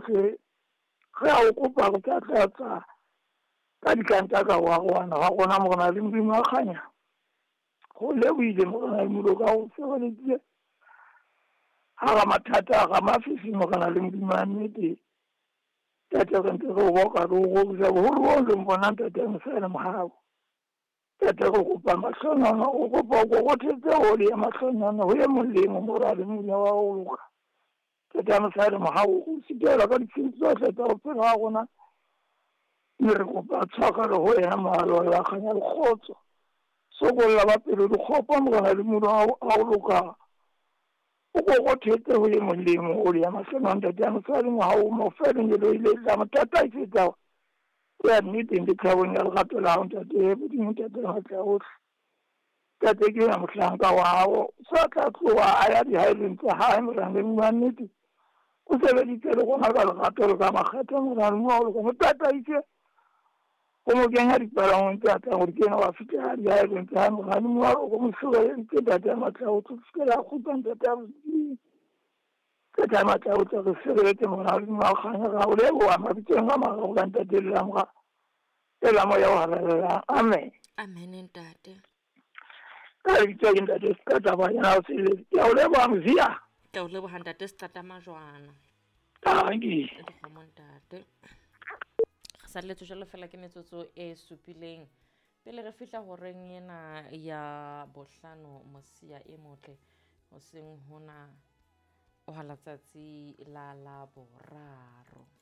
Ohle, re a o kopa re tla tlatsa ka ditlanta ka ho arohana ha rona Morena le Modimo wa kganya. Go lebohile Morena le Modimo ka ho sireleditse hara mathata, hara mafifi Morena le Modimo wa nnete. Ntate re ntse re o boka re o rorisa boholo bo leng bona ntate Mosele mohau. Ntate re kopa mahlonono, o kopa o korothetse oli ya mahlonono ho e mong le e mong Morena le Modimo wa ho loka. Ntate Mosele mohau o sitelwa ka ditshiu tsohle tsa bophelo ba rona. Mme re kopa tshwarelo ho yena mohalo wa kganya le kgotso. Sokolla ba pelo di kgopo Morena le Modimo wa ho loka. O korothetse ho e mong le e mong oli ya mahlonono ntate ya mosadi mohau mo fe lengeloi le tla mo tataisetsa ho ya nneteng le thabong ya lerato la hao ntate Modimo ntate matla ohle. Ntate ke yena mohlanka wa hao sa tla tloha a ya dihaelong tsa hae Morena le Modimo wa nnete. O sebeditse le rona ka lerato le ka makgetho Morena le Modimo wa ho loka. Mo tataise o mo kenya dipalangweng tse atlang ho di kena wa fihla dihaelong tsa hae Morena le Modimo wa loka. Mo sireleditse ntate ya matla ohle ho fihlela a kgutla ntate ya Modimo. Ntate ya matla ohle re sireletse Morena le Modimo wa kganya. Re a o leboha mabitsong a mararo ka ntate le la Mora le la Moya o Halalelang. Amen. Amen ntate. Ka lebitso ke ntate Seqata Banyana o Selele. Ke a o leboha Mzia. Ke a o leboha ntate Seqata Majwana. Dankie. Dikgomo ntate. Re salletswe jwalo fela ke metsotso e supileng pele re fihla horeng ena ya bohlano mosia e motle hoseng hona wa letsatsi la Laboraro.